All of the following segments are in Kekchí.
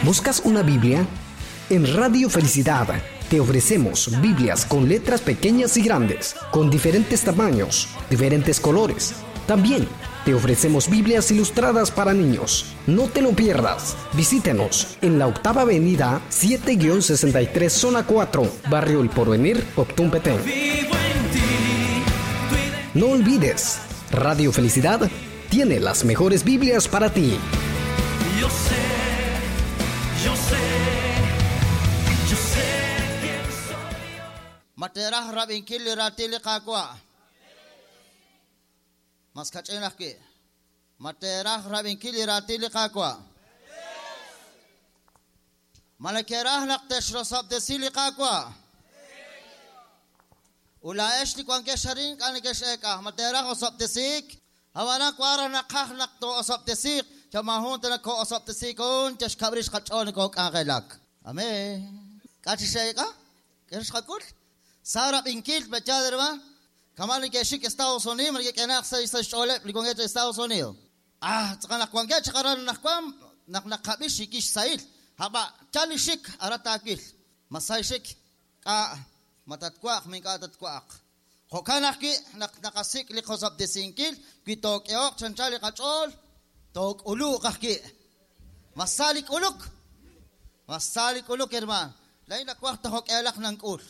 ¿Buscas una Biblia? En Radio Felicidad te ofrecemos Biblias con letras pequeñas y grandes, con diferentes tamaños, diferentes colores. También te ofrecemos Biblias ilustradas para niños. No te lo pierdas. Visítenos en la Octava Avenida 7-63 Zona 4, Barrio El Porvenir, Octum Petén. No olvides, Radio Felicidad tiene las mejores Biblias para ti. Yo sé, yo sé, yo sé quién soy. Ma teeraj rab'inkil li raatin li Qaawa'? Mas kach'in ajwi'. Ma teeraj rab'inkil li raatin li Qaawa'? Ma neke'raj naq texrosob'tesi li Qaawa'? Ut laa'ex li wankex arin ink'a' nekex'eek'a, ma teeraj osob'tesiik? Ab'anan wank raj naqaj naq too'osob'tesiiq, xa maajun ta nakoo'osob'tesiik un yal xkab' rix qach'ool nokook'anjelak. Amén. K'a' chi xe'eek'a? K'e xqak'ul? Sa rab'inkil, pe'yaal hermaan? Kama' neke'xik Estados Unidos, ma neke'k'ehenaq sa' xch'ooleb' li wankeb' sa' Estados Unidos. Ah, tz'aqal naq wankeb' chaq aran anaqwan, naq naqab'i xiikil xsahil. Ab'a, yal li xik, aran taawil. Ma sa xik? K'a', ma tatwa'aq, ma ink'a' tatwa'aq. Jo'kan ajwi' naq naqasik' li qosob'tesinkil, wi took'ehoq chi anchal li qach'ool, took'uluq ajwi'. Ma sa li k'uluk? Ma sa li k'uluk, hermaan? Laa'in nawaj ta jo'k'ihalaq nank'ul.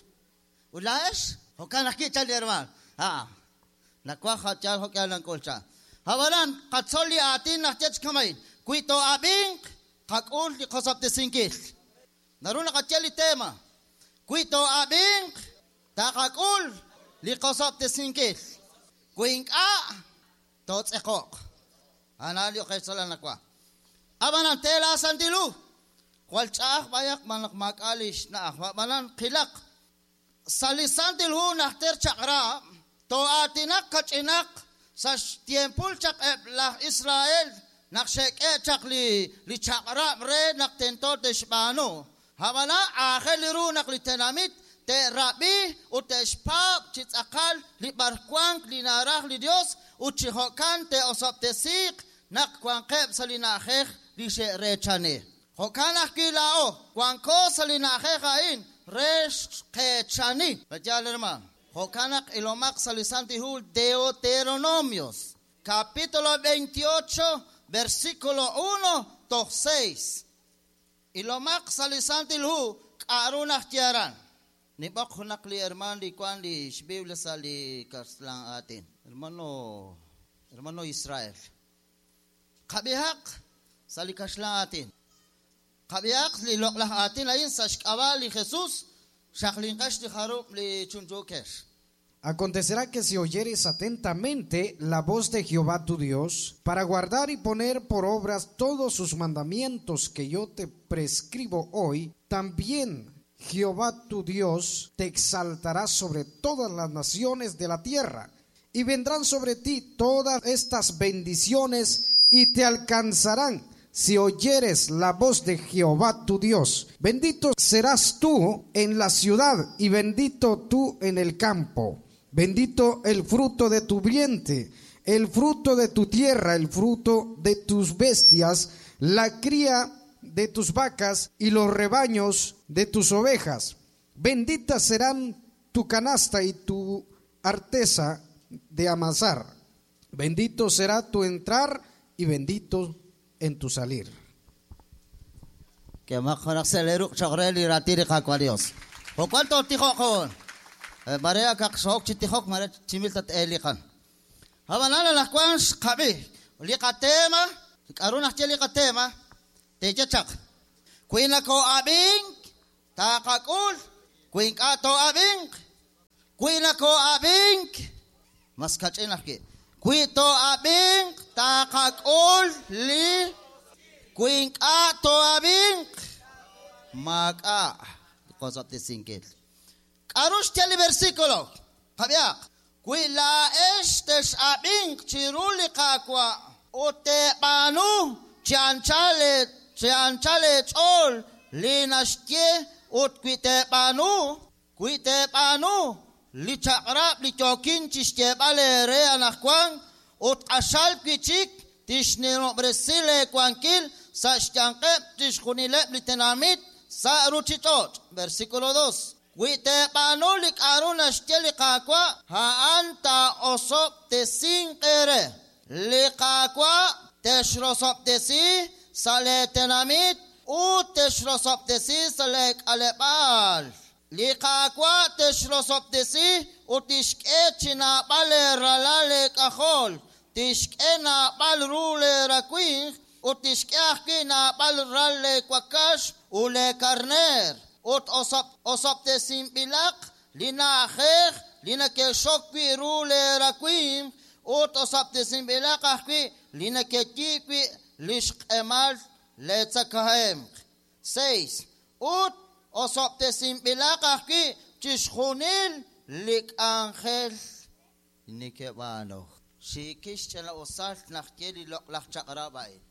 Ut laa'ex? Jo'kan ajwi' chan li hermaan. Aa, nawaj yal jo'k'ihal nank'ul, chan. Ab'anan, qatzol li aatin naxye chi kama'in, Wi too'ab'inq, qak'ul li qosob'tesinkil. Naru naqaye li tema, Wi too'ab'inq, taqak'ul li qosob'tesinkil. Wi ink'a', tootz'eqo'q. A'an li oqechtzol anaqwan. Ab'anan, te laaSantil Hu. Jwal ch'a'aj b'ayaq xb'aan naq maak'a' li xna'aj. Ab'anan, qilaq. Sa' li Santil Hu Najter Chaq'rab', too'aatinaq kach'inaq sa' xtiempul chaq eb' laj Israel naq xe'k'e' chaq li li chaq'rab' re naq tento te'xb'aanu. Ab'anan, aajel ru naq li tenamit te'rab'i ut te'xpaab' chi tz'aqal li b'arwank li naraj li Yos ut chi jo'kan te'osob'tesiiq naq wanqeb' sa' li na'ajej li xe'reechani. Jo'kan ajwi' laa'o wanko sa' li na'ajej a'in re xqeechani. Pe'yaal hermaan? Jo'kan naq ilomaq sa' li Santil Hu Deuteronomios, capítulo 28, versículo 1 toj 6. Ilomaq sa' li Santil Hu k'a'ru naxye aran. Nib'oq junaq li hermaan li wank li xBiblia sa' li kaxlan aatin. Hermano, hermano Israel. Qab'ihaq sa' li kaxlan aatin. Qab'ihaq li loq'laj aatin a'in sa' xk'ab'a' li Jesus, xaqlinqex li jarub' li chunchuukex. Acontecerá que si oyeres atentamente la voz de Jehová tu Dios, para guardar y poner por obras todos sus mandamientos que yo te prescribo hoy, también Jehová tu Dios te exaltará sobre todas las naciones de la tierra, y vendrán sobre ti todas estas bendiciones y te alcanzarán si oyeres la voz de Jehová tu Dios. Bendito serás tú en la ciudad y bendito tú en el campo. Bendito el fruto de tu vientre, el fruto de tu tierra, el fruto de tus bestias, la cría de tus vacas y los rebaños de tus ovejas. Benditas serán tu canasta y tu arteza de amasar. Bendito será tu entrar y bendito en tu salir. K'ehomaq junaq sa' lee ruq' cho'q re li raatin li Qaawa' Dios. Jo'kan tootijoq hoon. Mare akaq xoo'ok chi tijok, mare chimil tat-eeliqan. Ab'anan anaqwan xqab'i li qateema, k'aru naxye li qateema, teeye chaq. Wi nakoo'ab'ink, taqak'ul, wi ink'a' too'ab'inq, wi nakoo'ab'ink, mas kach'in ajwi'. Wi too'ab'inq, taqak'ul li, wi ink'a' too'ab'inq, maak'a' li qosob'tesinkil. K'aru xye li versículo? Qab'ihaq. Wi laa'ex tex'ab'inq chiru li Qaawa' ut teeb'aanu chi anchal chi anchal eech'ool li naxye ut wi teeb'aanu, wi teeb'aanu li chaq'rab' li yookin chi xyeeb'al eere anaqwan ut q'axal wi' chik tixnimob'resi leewankil sa' xyanqeb' chixjunileb' li tenamit sa' ruuchich'och'. Versículo 2. Wi teeb'aanu li k'a'ru naxye li Qaawa', a'an taa'osob'tesinq eere. Li Qaawa' texrosob'tesi sa' lee tenamit ut texrosob'tesi sa' lee k'aleb'aal. Li Qaawa' texrosob'tesi ut tixk'e chi naab'al leeralal leek'ajol, tixk'e naab'al ru leerawimq ut tixk'e ajwi' naab'al ral leewakax ut leekarneer. Ut osob'tesinb'ilaq li na'ajej li neke'xok wi' ru leerawimq ut osob'tesinb'ilaq ajwi' li nekeyiib' wi' li xq'emal leetzakahemq. 6. Ut osob'tesinb'ilaq ajwi' chixjunil li k'anjel nekeb'aanu. Xiikil xch'ina'usal naq ye li loq'laj chaq'rab' a'in.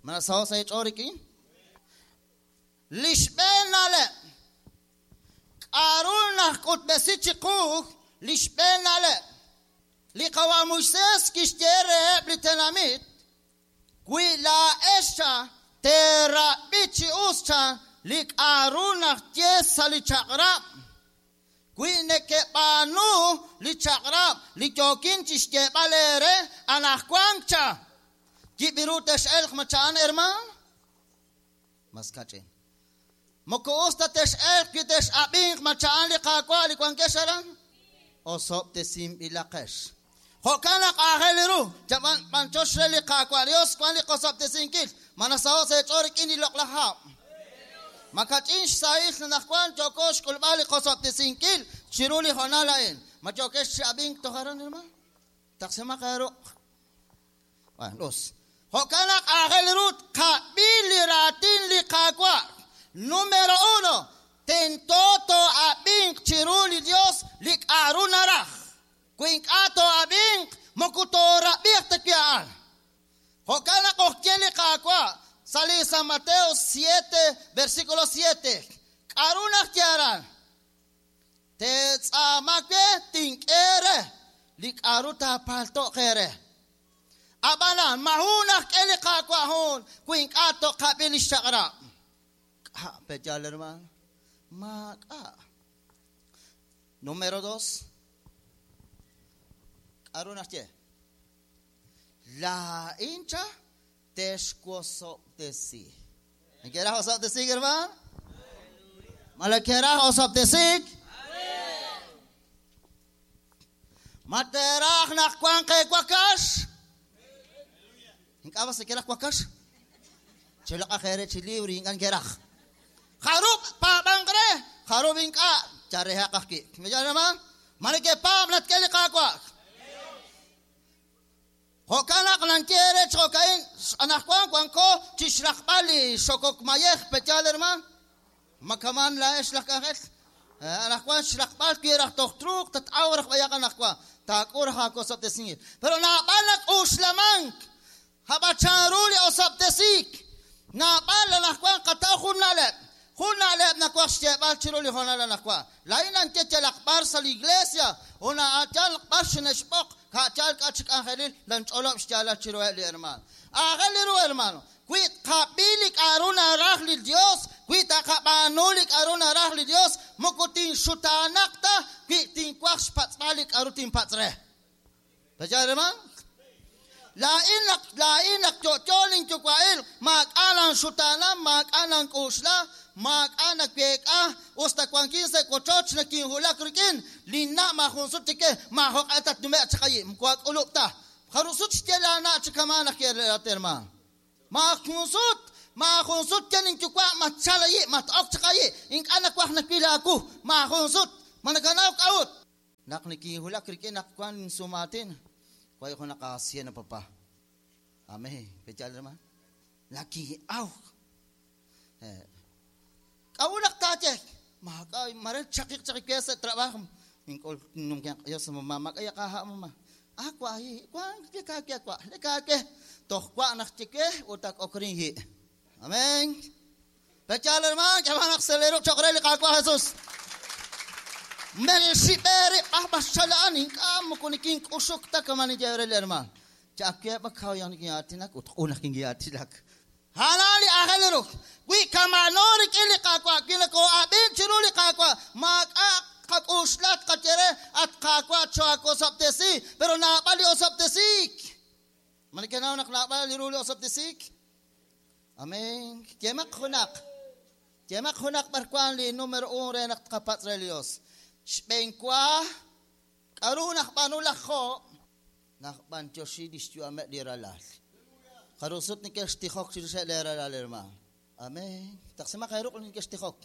Ma nasaho' sa' eech'ool rik'in? Li xb'een na'leb'. K'a'ru najk'utb'esi chiqu li xb'een na'leb'? Li qawa' Moisés kixye reheb' li tenamit, wi laa'ex cha teerab'i chi us cha li k'a'ru naxye sa' li chaq'rab', wi nekeb'aanu li chaq'rab' li yookin chixyeeb'al eere anaqwan cha, yib' ru tex'elq ma cha'an hermano? Mas kach'in. Moko us ta tex'elq wi tex'ab'inq ma cha'an li Qaawa' li wankex aran? Osob'tesinb'ilaqex. Jo'kan naq aajel ru, b'anchox re li Qaawa' Dios wan li qosob'tesinkil. Ma nasaho' sa' eech'ool rik'in li loq'laj hab'. Ma kach'in xsahil anaqwan yooko xk'ulb'al li qosob'tesinkil chiru li hoonal a'in. Ma yookex chi ab'ink toj aran, hermano? Taqsimaq eeruq. Bueno, us. Jo'kan naq aajel ru tqab'i li raatin li Qaawa'. Número 1, tento too'ab'inq chiru li Dios li k'a'ru naraj. Wi ink'a' too'ab'inq, moko toorab'iq ta wi a'an. Jo'kan naq ojye li Qaawa' sa' li San Mateo 7, versículo 7. K'a'ru naxye aran? Teetz'aama we tink'e re li k'a'ru taapalto'q eere. Ab'anan, majun najk'e li Qaawa' jun wi ink'a' toqab'i li xchaq'rab'. K'a' peyal, hermano. Maak'a'. Número 2. K'a'ru naxye? Laa'in cha texwosob'tesi. ¿Querás osob'tesik, hermano? ¿Ma le querás osob'tesik? Ma teraj naq wan qeewakax? Ink'a' se keraj wakax? Chelaqa jere chi libre ink'a' keraj. Jarub' paab'anq re, jarub' ink'a' charejaq ajwi'. ¿Me llama? Ma nekepaab' natk'e li Qaawa'. Jo'kan naq nankiere ch'okain anaqwan wanko chixraqb'al li xokok mayej peyal, hermano. Makaman laa'ex laj k'anjel. Anaqwan xraqb'al wi raj toj truuq tat'aw raj b'ayaq anaqwan. Taak'u raj aakosob'tesinkil. Pero naab'al nak'uxlamank. Hab'achan ru li osob'tesik. Naab'al anaqwan qataw jun na'leb'. Jun na'leb' nawaj xyeeb'al chiru li hoonal anaqwan. Laa'in nanye yalaq b'ar sa' li iglesia una yalaq b'ar xinexb'oq ka'yal k'a chi k'anjelil lanch'olob' xyaalal chiruheb' li hermano. Aajel li ru, hermano. Wi tqab'i li k'a'ru naraj li Dios, wi taqab'aanu li k'a'ru naraj li Dios, moko tinxutaanaq ta wi tinwaj xpatz'b'al li k'a'ru tinpatz' re. Peyal, hermano? Laa'in naq yo'yo linyuwa'il, maak'a' lanxutaana, maak'a' lank'uxla, maak'a' naweek'a, us ta wankin sa' wochoch nakinhulak rik'in, linna' maajun sut chike, maajoq'e tatnume' chaqayi', moko ak'ulub' ta. Jarun sut xye laana' chikamaa naq yeerat, hermano. Maajun sut, maajun sut ye linyuwa' matchalayi', mat'ok chaqayi', ink'a' nawaj nawil aawu, maajun sut, ma nakanaw k'a'ut. Naq nikinhulak rik'in naq wan sumaatin, way ko nakasiya na papa. Amen. Pechal naman. Nakiaw. Kaulak tache. Maka marel chakik chakik kaya sa trabaho. Ingkol nung kaya kaya sa mama kaya kaha mama. Akwa hi kwa leka ke kwa leka ke toh kwa nak chike utak okrin hi. Amen. Pechal naman kaya nak selero chokre li kakwa Jesus. Melshiberi ahbashalaan inkam kunikin usuk ta kamani jevrel hermano. Chakke ba khaw yan ki atinak ut unak ki atilak. A'an li aajel ru. Wi kama'ano rik'in li Qaawa', wi nakoo'ab'ink chiru li Qaawa', maak'a' qak'uxla tqaye re, at Qaawa' choo'awosob'tesi, pero naab'al li osob'tesiik. Ma nekenaw naq naab'al li ru li osob'tesiik? Amén. Yemaq junaq. Yemaq junaq b'ar wank li numero 1 re naq tqapatz' re li Dios. Xb'eenwa, k'aru najb'aanu laj Job? Najb'antioxi li xyu'ameb' li ralal. Jaru sut nekextijok chirixeb' lee ralal, hermano. Amén. Taqsimaq eeruq' li nekextijok.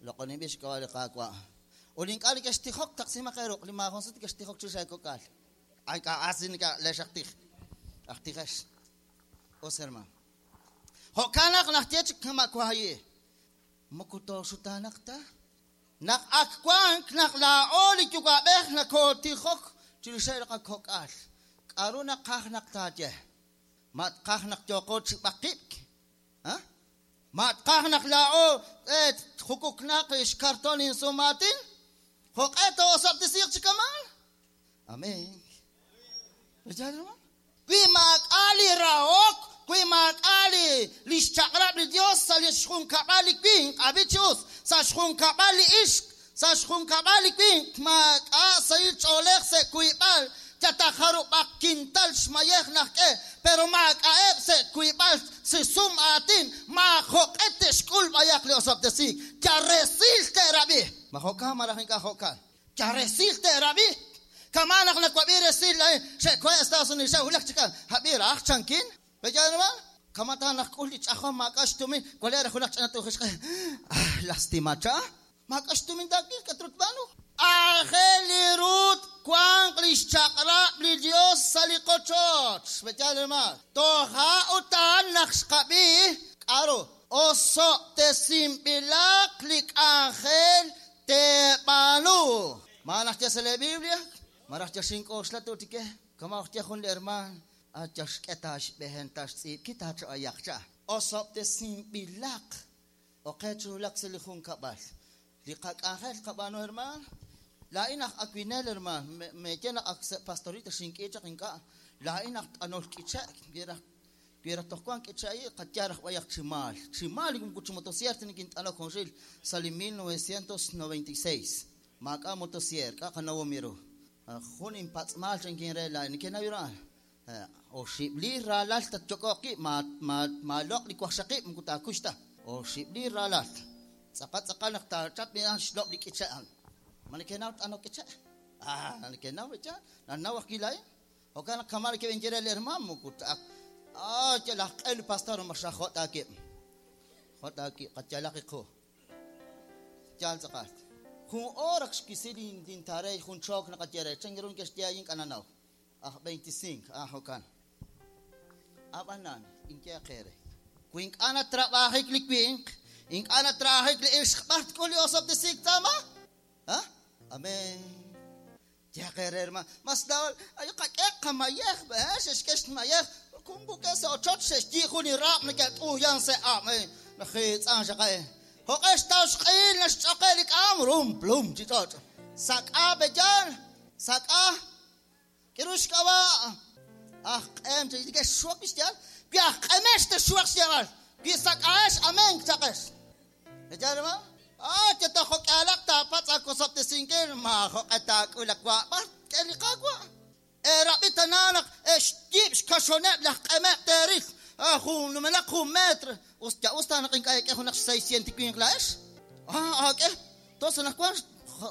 Loq'oninb'il xk'ab'a' li Qaawa'. Ut li ink'a' nekextijok, taqsimaq eeruq' li maajun sut nekextijok chirix eekok'al. Ay, ink'a' asin ink'a' leex aj tij. Aj tijex. Us, hermano. Jo'kan naq najye chik kama' wahi'. Moko tooxutaanaq ta. Naq ak wank naq laa'o li yuwa'b'ej nakootijok chirixeb' li qakok'al. K'aru naqaj naq taaye? Ma tqaj naq yooqo chi b'aqib'k? Ha? Ma tqaj naq laa'o tjukuknaq xkarton insumaatin? Jo'q'e too'osob'tesiiq chi kama'an? Amén. Wi maak'a' li rahok, wi maak'a' li li xchaq'rab' li Dios sa' li xjunkab'al li winq, ab'i chi us, sa' xjunkab'al li ixq, sa' xjunkab'al li winq, maak'a' sahil ch'oolej sa' wiib'al, yalaq jarub'aq kintal xmayej najk'e, pero maak'a'eb' sa' wiib'al si sum aatin, maajo'q'e te'xk'ul b'ayaq li osob'tesiik. Yal resil te'rab'i. Ma jo'kan malaj ink'a' jo'kan? Yal resil te'rab'i. Kama' naq nawab'i resil laa'in, xe'kohe' Estados Unidos, xe'wulak chik ab'i raj chankin. Pe'yaal hermano? Kama' ta naq k'ul li ch'ajom maak'a' xtumin, wale' raj junaq ch'ina tu'jixq'e. Ah, lastima cha. Maak'a' xtumin taakil, k'aru tb'aanu? Aajel li ru twanq li xchaq'rab' li Dios sa' li qochoch. Pe'yaal hermano? Toja' utan naq xqab'i k'aru osob'tesinb'ilaq li k'anjel teeb'aanu. Ma naxye sa' lee Biblia? Malaj yal xink'oxla tu'tike? Kama' ojye jun li hermaan, yal xk'e ta xb'ehen ta xtz'iib'ki taacha'ayaq cha. Osob'tesinb'ilaq oqe chi wulak sa' li junkab'al. Li qak'anjel qab'aanu hermaan, laa'in aj awinel hermaan, meeye naq ak sa' pastorita xink'i chaq ink'a', laa'in aj t'anol k'iche', wi raj toj wank k'iche' ayi', qayal raj b'ayaq chi maal. Chi maal moko chi motosierr ta nikint'anok junxil sa' li 1996. Maak'a' motosierr, k'a' qanawom ru. Jun inpatz'maal chankin re laa'in, nekenaw ru a'an. Oxib' liir raalal tatyok'oq ki', maaloq' li waqxaqib' moko taakux ta. Oxib' liir raalal. Tz'aqal tz'aqal naq taachap a'an xlob' li k'iche' a'an. Ma nekenaw t'anok k'iche'? Ah, nekenaw echa, nanaw ajwi' laa'in. Jo'kan naq kama' nekeb'inye re li hermaan moko ak ah, yal aj q'e li pastor ma xajot aakib'. Jot aakib', qayalaq iqu. Yaal tz'aqal. Jun hora xwisi lintarey jun chook naqaye re, chan ru neke'xye a'in k'a nanaw. Aj 25, ah, jo'kan. Ab'anan, inye eere. Wi ink'a' natrab'ajik li winq, ink'a' natrab'ajik li ixq, b'ar tk'ul li osob'tesiik tz'aama? Ha? Amén. Yeeq eere hermano, mas laa'o ay qak'e qamayej, eh, xe'xk'e xmayej, kumbuke sa' ochoch xe'xyi' jun li raab' neke't'uuyan sa' ab', eh, najiitz'an xaq, eh. Jo'q'e xtaw xq'ehil naxch'oqe' li k'aam, rum plum chi ch'och'. Sak'a pe'yaal, sak'a. K'aru xk'ab'a' aj q'em chi neke'xxuwak li xyaal? Wi aj q'emex texxuwaq xyeeb'al, wi sak'ahex amén chaqex. Pe'yaal hermano? Ah, yalaq jo'k'ihalaq taapatz' aawosob'tesinkil, maajo'q'e taak'ul awa' b'ar tk'e li Qaawa'. Eerab'i tana naq e'xyiib' xkaxoneb' laj q'emeb' teeril, ah, jun numenaq jun metr. Us ya us ta naq ink'a' eek'e junaq xseisciento winq laa'ex. Ah, aak'e. Tos anaqwan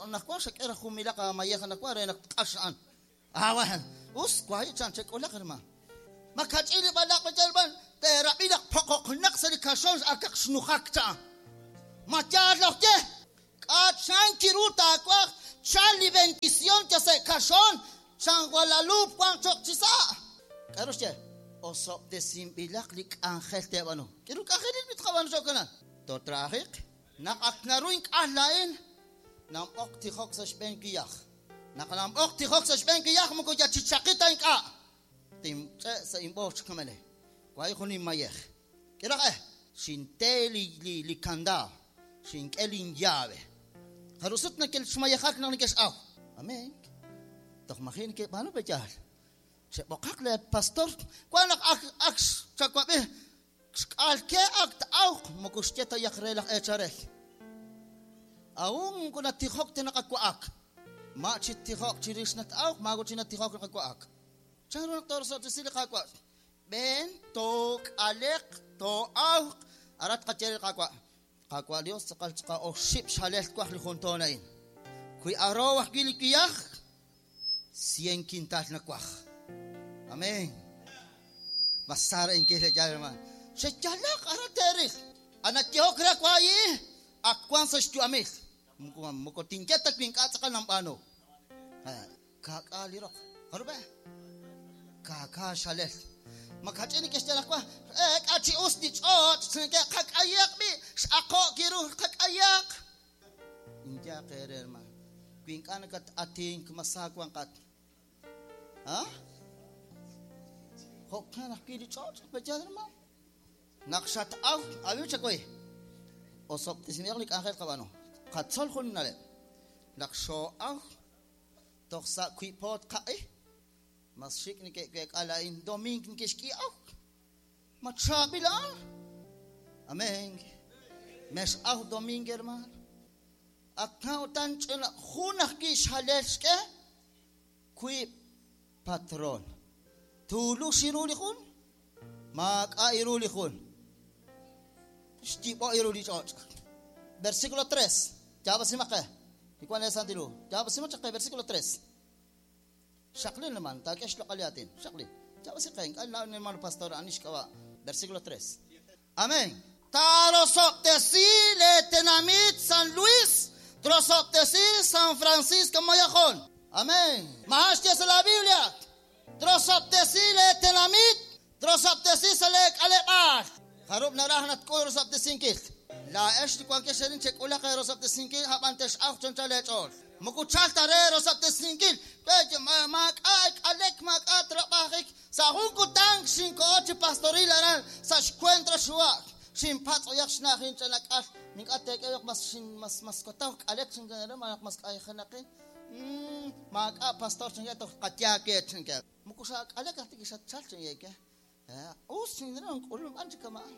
anaqwan xak'e raj jun milaq aamayej anaqwan re naq tq'ax a'an. Ah, bueno. Us, wahi' chan chek'ulaq hermano. Ma kach'in li b'alaq' b'an teerab'i naq poqoqnaq sa' li kaxon akaq xnujak cha. Ma yaal loj ye? K'a' chan kiru taawaj chal li bendición ya sa' kaxon chan Guadalupe wank choq chi sa'. K'aru xye? Osob'tesinb'ilaq li k'anjel teeb'aanu. K'aru k'anjelil mi tqab'aanu cho'kanan? Tootrajiq. Naq ak naru ink'al laa'in, namb'oq tijok sa' xb'een kiyaj. Naq namb'oq tijok sa' xb'een kiyaj moko ya chichaqi ta ink'a'. Tinch'e' sa' inb'och kamele. Wahi' jun inmayej. K'iraq eh, xinte li li li kandado, xink'e linllave. Jaru sut neke'xmayejak naq neke'x'aw. Amén. Toj maji' neke'b'aanu pe'yaal. Xe'b'oqaq le pastor. Wan naq ak ak xchawab'i. Xk'alke ak ta'awq moko xye ta yaq re laj eecharel. Aún moko natijok ta naqawa'ak. Ma chi tijok chirix nat'awq, maago chi natijok naqawa'ak. Chan ru naq toorosob'tesi li Qaawa'? B'een took'aleq too'awq arat qaye li Qaawa'. Qaawa' Dios tz'aqal tz'aqal oxib' xhalel twaj li jun toon a'in. Wi aroow ajwi' li wiyaj, 100 kintal nawaj. Amén. Masara inkil yaal hermano. Xeyalaq arat teeril. Anayehok re waayi ak wan sa xyu'amil. Moko tinye ta wi ink'a' tz'aqal nanb'aanu. Ka'k'a li roq. Jarub'e? Ka'ka xalel. Makach'in kexye laj wa, k'a chi us li ch'och', qak'ayaq b'i, x'aqo' kiru qak'ayaq. Inyaq ere hermano. Wi ink'a' nakat-atink masa wanqat. Ha? Jo'kan ajwi' li ch'och', b'eyal hermano. Naq xat'aw, awiw chakoy. Osob'tesinb'ilaq li k'anjel qab'aanu. Qatzol jun na'leb'. Naq xoo'aw, toj sa' wi'poot qaq'i, mas xik' neke'week'a la'in domink neke'xk'i'aw. Ma chaab'il a'an. Amén. Mex'aw domink hermano. Ak'a utan ch'ina jun ajwi' xhalel xk'e wiib' patron. Tuulu xiru li jun, maak'a' iru li jun. Xyib'o iru li ch'och'. Versículo 3. Yaab'asimaqe. Ikuan le santilu. Yaab'asimachaqe versículo 3. Xaqlin naman, takesh lokaliatin. Xaqlin. Yaab'asiqe, ink'a' hermano pastor anish kawa. Versículo 3. Amén. Tarosob'tesi le tenamit San Luis, trosob'tesi San Francisco Mayajón. Amén. Mahash la Biblia. Trosob'tesi le tenamit, trosob'tesi sa le k'aleb'al. Jarub naraj natk'ul rosob'tesinkil. La ex li wankex erin chek'ulaq rosob'tesinkil hab'an tex'aw choncha lech'ool. Mukuchal tare rosob'tesinkil. Maak'a k'alek maak'a trabajik. Sa jun kutang xinko'o chi pastoril aran sa xcuentro xuwa'. Xinpatz' oyaq xna'jin ch'anak'al. Mink'a tek'eyoq mas xin mas mas kotaw k'alek xinkanara manaq mas k'ayjanaqin. Maak'a pastor chinke toj qatyaake chinke. Mukuxa k'alek ajtik xatchal chinyeke. Us chinra nk'ulum an chikama'an.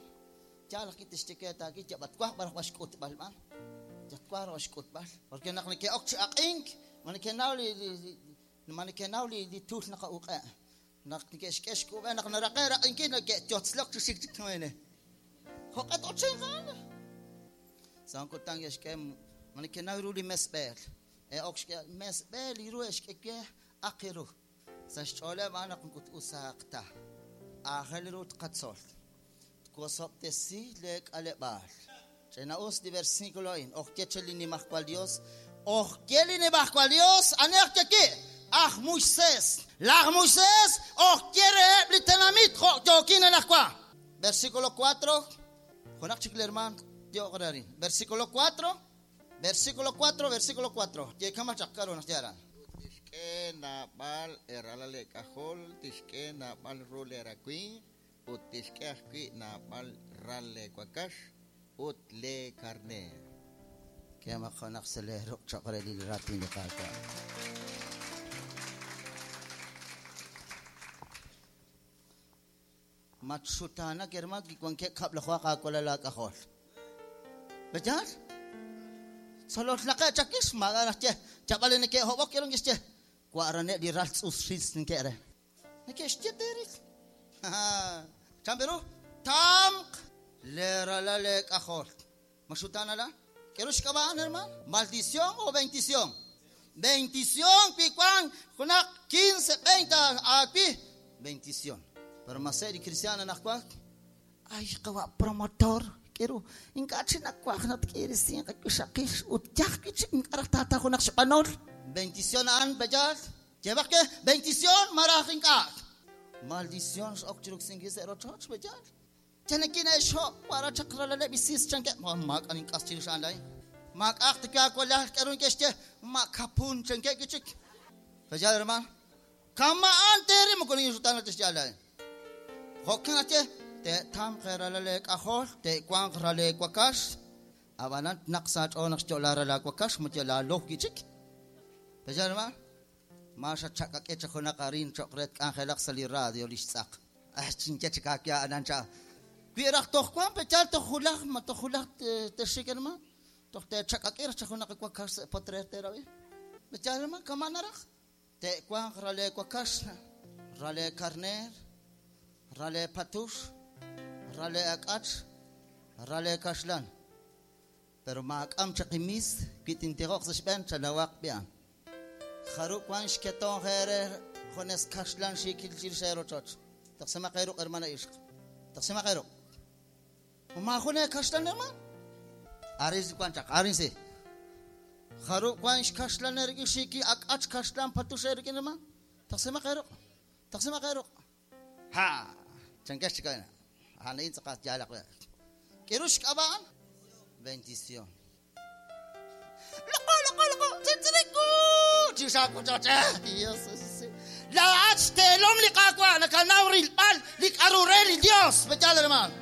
Yalaq kitixtike taaki yabatwaj baraj baxk'utb'al b'an. Yatwaj baraj baxk'utb'al. Porque naq neke'ok chi aq'ink, manekenaw li manekenaw li tul naqa'uq'e. Naq neke'xk'e xk'ub'e naq naraqe raq'inkil neke'yotzlok chi xik chik wene. Jo'q'et ochinqan. Sankutang yaxk'e manekenaw ru li mesb'eel. Ok xk'e mesb'eel iru exk'eke aqiru. Sa xch'ooleb' naq nkut usaqta. Aajel ru tqatzol. Tkosob'tesi le k'aleb'aal. Ch'ina us li versículo in. Ojkye li nimajwal Dios. Ojkye li nimajwal Dios. Anej kyeki. Aj Moisés. Laj Moisés. Ojkye reheb' li tenamit. Jo'yokin anajwa. Versículo 4. Junaq chik li hermano. Yo'qrarin. Versículo 4. Versículo 4. Versículo 4. Yekama chaqkaru naq yaran. Tixk'e naab'al eralal k'ajol, tixk'e naab'al ru lerakuin, ut tixk'e ajwi' naab'al ral lewakax, ut le karneer. Kema junaq sa leeruk choq' re li raatin li Qaawa'. Matxutanak hermano kiwankeb' kab'lajwaq aawalal aak'ajol. B'eyal? Solotlaqe chakix maak'a' naq ye chab'al neke'hob'ok k'eron kixye wa'rane' li ral tz'us xis neke're. Neke'xye teeril. Chan peru? Tamq leralal leek'ajol. Maxutanala? K'eru xk'ab'a'an hermano? Maldición o bendición? Bendición pi wan junaq 15, 20 aapi. Bendición. Pero maseri cristiana naqwa. Ay qawa promotor. K'eru ink'a' chi nakwaj natk'irisin qak'uxaqix ut yaj k'ich ink'a' tata junaq xb'anol. Bendición a'an b'eyal. Lleva que bendición maraj ink'a'. Maldición x'ok chiruksinki sa' rochoch b'eyal. Chanakina xo para chaqralaleb' isis chanke. Maak'a ink'as chirix a'an lay. Maak'aq tikaawalaj k'eru ink'exye ma'kapun chanke kichik. B'eyal hermano. Kama'an teri moko ninxutana tixyalay. Jo'kan atye te tam qeralale k'ajol te wan rale wakax. Abanan naq sa ch'ool naq xyo'la rala wakax mutya loj kichik. B'eyal hermano. Ma xachak'ak'e cha junaq arin choq' re k'anjelaq sa li radio li xtz'aq. Ay chinche chikakya anan cha. Wi raj toj wan pechal toj julaj, ma toj julaj texik hermano. Toj te chakakir chajuna wakax sa potrer terabi. Pechal hermano, kama naraj. Te wan rale wakax, rale carner, rale patux, rale akach, rale kaxlan. Pero maak'am chaqimis, kitintijoq sa xb'een chalawaq bian. Jaru wan xketon jere jones kaxlan xikil chir xerochoch. Taqsima qeruq hermana ishq. Taqsima qeruq. Ma june kaxlan hermano? Aris wan chaq, arinsi. Jaru wan xkaxlan erki xiki ak'ach kaxlan patux erki hermano? Taqsima qeruq. Taqsima qeruq. Ha, chankash chikana. Hanain tzaqat yalaq. Kirush k'ab'an? Bendición. Loco, loco, loco. Tzintziniku. Chishaku chacha. Dios. La ach telom li kakwa nakanaw rilpal li karurel Dios. Bechal hermano.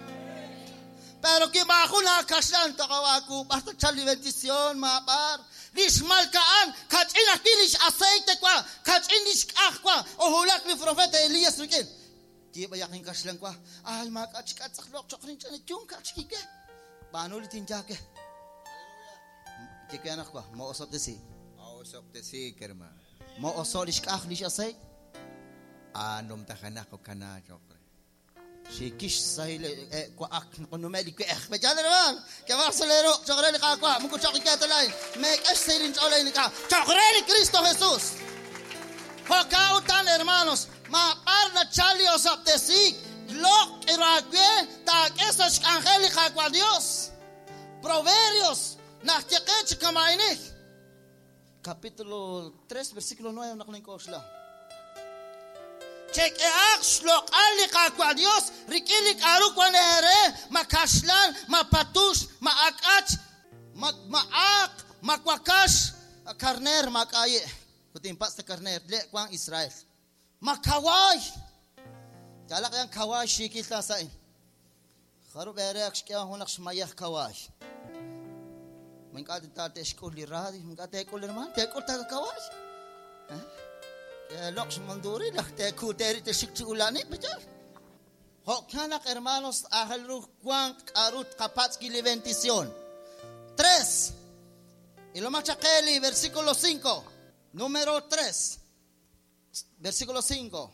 Pero que bajo la kaslan takawaku basta chali bendición ma bar. Lix malkaan kach'in ajwi' lix aceite kwa kach'in lix k'aj kwa ojulak li profeta Elías rikin. Yiib'ayaq inkaxlan kwa. Ay maak'a chik'atz'ajloq choqrin ch'ana yun k'achkike. Banu li tinjake. Tikanaq kwa mo osop desi. Osop desi hermano. Mo oso lix k'aj lix aceite. Anom tajanak o kana chokre. Xikish sahil kwa ak nqunumeli kwe'ej. Bechal hermano. Que barcelero choqre li qakwa muku choqi ketalay. Meek'ex sahil inch'olay ni ka. Choqre li Cristo Jesús. Joka utan hermanos. Ma parla chali osop desi. Lok irakwe taak'e sa xk'anjel li qakwa Dios. Proverbios najtiqech kamainik. Capítulo 3 versículo 9 naqlinkoxla. Chequeaq xloq'al li qakwa Dios rik'in li k'aru wan ere ma kaxlan ma patux ma ak'ach ma maaq ma wakax carner ma k'aye kutin pasta carner le wan Israel ma kaway yalaq yan kaway xikil ta sain jaru bereq xk'ewan junaq xmayaj kaway man k'at ta texk'ul li radio man k'at tek'ul hermano tek'ul ta kaway Lox manduri laj tekuteri texik chi ulani bechal. Jo'kanaq hermanos ajel ruj wan k'arut qapatzki li bendición. 3. Y lo machakeli versículo 5. Número 3. Versículo 5.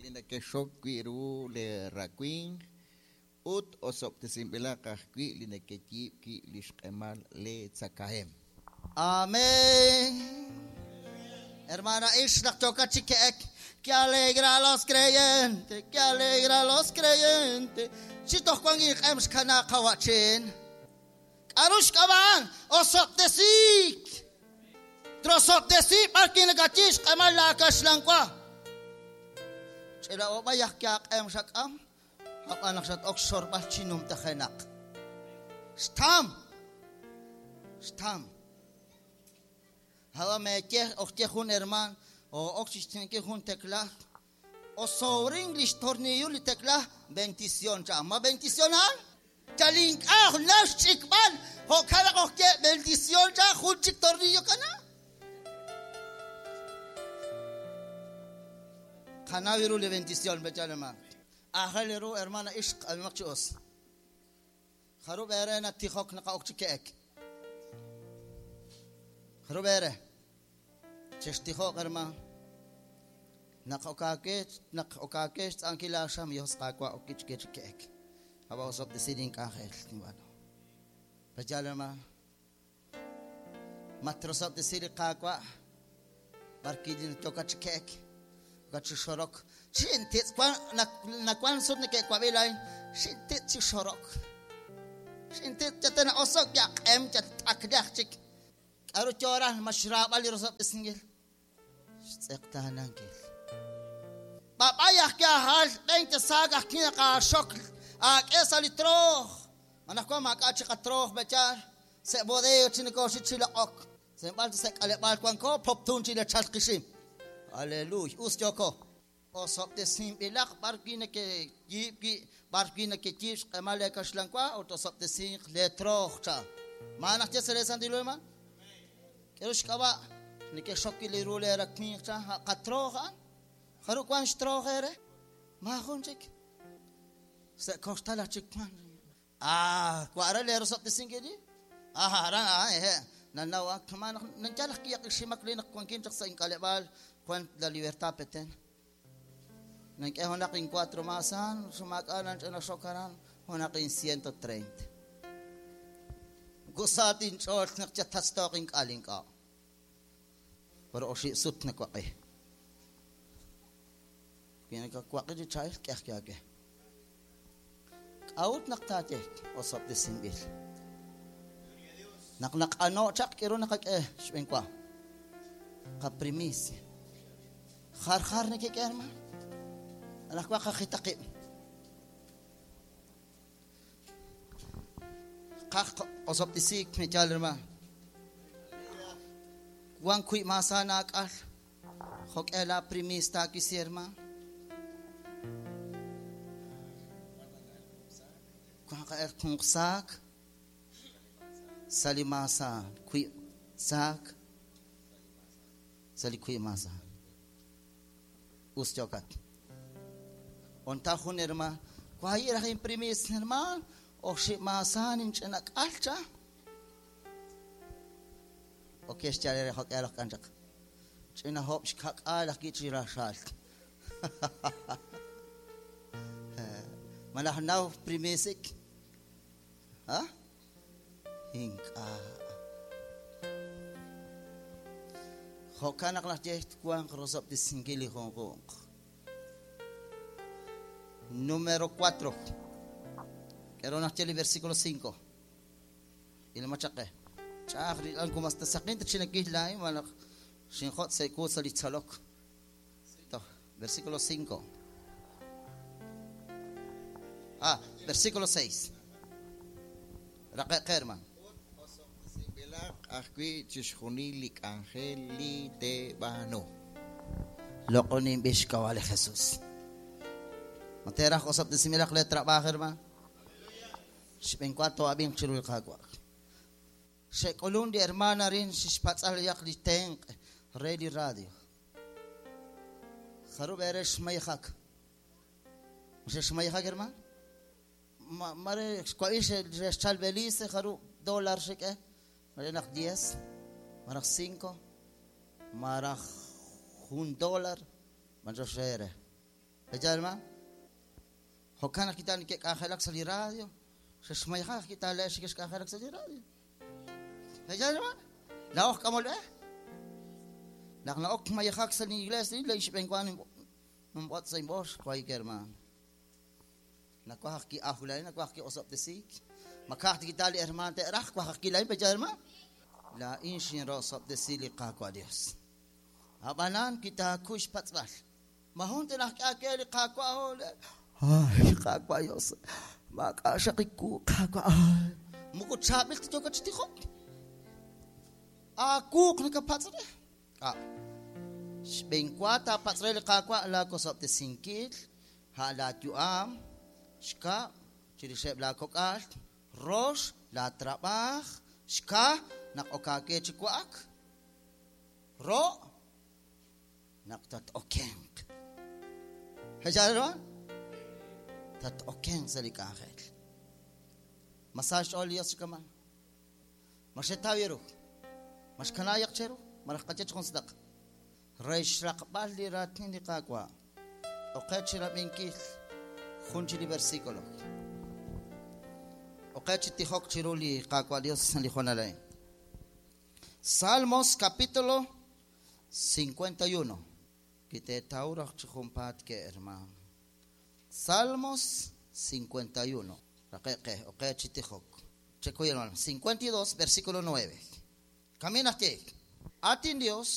Li nakexok wi' ru le rakwin ut osoptesinb'ilaq ajwi' li nakeyiib' wi' li xq'emal le tzakahem. Amén. Hermana Ishlach toca chiquek, que alegra a los creyentes, que alegra a los creyentes. Chito Juan y Ems kana kawachin. Arush kaban, osop desik. Trosop desik, parkin gachish, kamal la kashlankwa. Chela obayak yak em shakam, hapanak shat okshor balchinum tajenak. Stam. Stam. Hawa me ke okche jun herman o okchisten ke jun tecla o sobre English tornillo li tecla bendición cha ma bendición ha chalink ah nash chikbal ho kala okche bendición cha jun chik tornillo kana kanaviru le bendición bechalema ahaleru hermana ishq almaqchos kharub erena tixok naqa okchikeek Robere, chestijo hermano, naq okake tz'ankila xam yos qakwa okichkechkek. Aba osop decidin k'anjel bueno. Pachal hermano, matrosop decidi qakwa barkidin tokachkek, okachixorok, xintitz kwan nakwan sut neke'kwabilayn, xintitz chixorok. Xintitz chatena osok yaq'em chat'akliaj chik. K'aru choraj mashrab'al li rosop isingil. Xtz'eqtanankil. Papayaj kiajal 20 sagaj kina qashok ak'esa li troj. Manajkwa mak'achi qatroj bechar. Se bodeo chinikoxi chilaq'ok. Sembal se k'aleb'al kwanko poptun chile chalqixim. Aleluya. Us yoko. Osop desinb'ilaq barkina ke yib'i barkina ke yib xq'emal kaxlankwa otosop desin le troj cha. Manaj che se sandilo man? Kerush kaba nike shokili rule rakni cha qatroja haru kwan shtrojere ma junchik Sa' koxtal aj chik wan. Ah, kwara le rosoptisinkili? Ah, aran ah, eh. Nanaw ah, kama nandiyan ak kiyak isimak li nakwankin chak sa inkalebal kwan la libertad peten. Nangke honak in 4 masan, sumakalan siya na sokaran, honak in 130. Gusatin chol nakchatastoking kaling ka. Pero osi sut na kwaki. Pinagkakwaki di child kaya kaya. Out naktate osop de simbil. Naknak ano chak kiro nakak eh shwen kwa. Kaprimis. Khar khar nakikerma. Anak kwa kakitaki. Kak osop de sik me chalma. Wan kui masana akal. Hok ela primis ta kisirma. Kung sak salimasa kui sak sali kui masa ustyokat onta hunerma kwai ra imprimis herma o shi masa nin chenak alcha okay schale hok elok anjak chena hop shkak alak gichi rashal malahnaw primisik. Ha? Inka. Hokanak lah jeht kuang rosop di singkili hongkong. Número 4. Quiero nacheli versículo 5. Ilmachake. Chakri ang kumastasakin ta chinakilay malak shinkhot sa ikusa litsalok. Ito, versículo 5. Ah, versículo 6. Rakekerman. Ajwi chishjuni angeli te bano. Lokonim bishkawale Jesús. Matera osap de similak le trabajo hermano. Shpencuato abin chilul kagwa. Shekolun di hermana rin shishpatzal yak li tenk redi radio. Kharub eresh mayhak. Shesh mayhak hermano. Mare kwaish rechal belice kharu dólar sheke. Marak 10, marak 5, marak $1, manjo shere. Ejalma? Hokana kita ni ke kahelak sa radio. Sheshmayha kita le shikesh kahelak sa radio. Ejalma? Laok kamol eh? Naknaok mayhak sa iglesia ni leish bengwan mbot sa imbosh kwai kerman. Nakwah ki ahulay nakwah ki osop desik. Makah kita li hermano te rah kwah ki lain pejalma. La inshin rosop desili qaqwa Dios. Abanan kita kush patzbal. Mahon te nah ka li qaqwa hol. Ay qaqwa Dios. Makashaqiku qaqwa. Muko chabil te toka chtiho. Aku knaka patzre. Ah. Shbenkwata patzre li qaqwa la kosop desinkil. Ha la tuam. Shka chirisheb la kokal. Rosh la trabaj. Shka nak okake chikuak. Ro nak tat okenk. Hejalwa? Tat okenk sa likahel. Masaj ol yos kaman. Mashetawiru. Mashkanayak cheru. Marakatech konsdak. Reish rakbal li ratin li kakwa. Okech rabinkil. Junchi li versículo. Okech tihok chiruli kakwa Dios li jonalay. Salmos capítulo 51. Kite taurach chumpat ke hermano. Salmos 51. Rakeque, okech tihok. Checo hermano. 52 versículo 9. Camina aquí. Atin Dios